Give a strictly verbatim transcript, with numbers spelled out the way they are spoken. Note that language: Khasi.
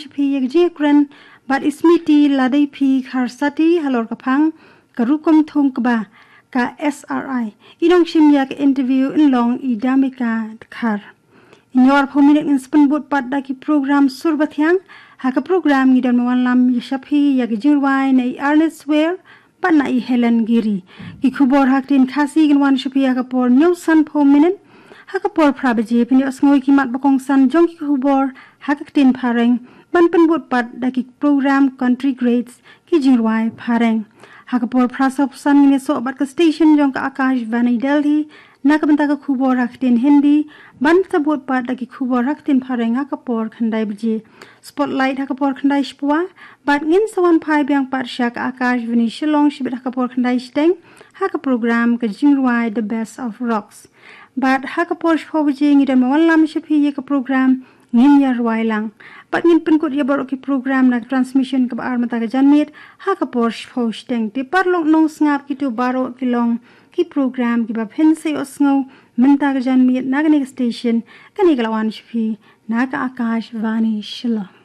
sha phi ïa ka jingkren bad i Smiti Ladei P Kharsati halor ka phang ka rukom thung kba ka S R I. I nongshim ïa ka interview in long i Damika Dkhar. Hynñiewphew minit ngin sa pynbud pat da ki program sur ba thiang. Ha ka program ngi don ban wanlam ïa sha phi ïa ka jingrwai na i Ernest Wear bad na i Helen Giri. Ki khubor ha ka ktien Khasi kin wan sha phi ha ka por hynñiew sanphew minit. Ha ka por phra baje phin ïohsngew ïa ki mat ba kongsan jong ki khubor ha ka ktien Phareng ban pynbud pat da ki program Country Greats, ki jingrwai Phareng. Ha ka por phra sawphew san ngin ïasoh bad ka station jong ka Akashvani Delhi na ka bynta ka khubor ha ka ktien Hindi, ban sa bud pat da ki khubor ha ka ktien Phareng ha ka por khyndai baje. Spotlight ha ka por khyndai shiphew, bad ngin sa wan phai biang pat sha ka Akashvani Shillong shibit ha ka por khyndai shiteng ha ka program ka jingrwai The Best of Rocks. Bad ha ka por shiphew baje ngi don ban wanlam sha phi ïa ka program Ngin Ïa Rwai Lang. Bad ngin pynkut ïa baroh ki program na ka transmission kaba ar mynta ka janmiet ha ka por shiphew shiteng. Te paralok nongsngap, kito baroh ki long ki program kiba phin sa ïohsngew mynta ka janmiet na kane ka station, kane ka la wan sha phi na ka Akashvani Shillong.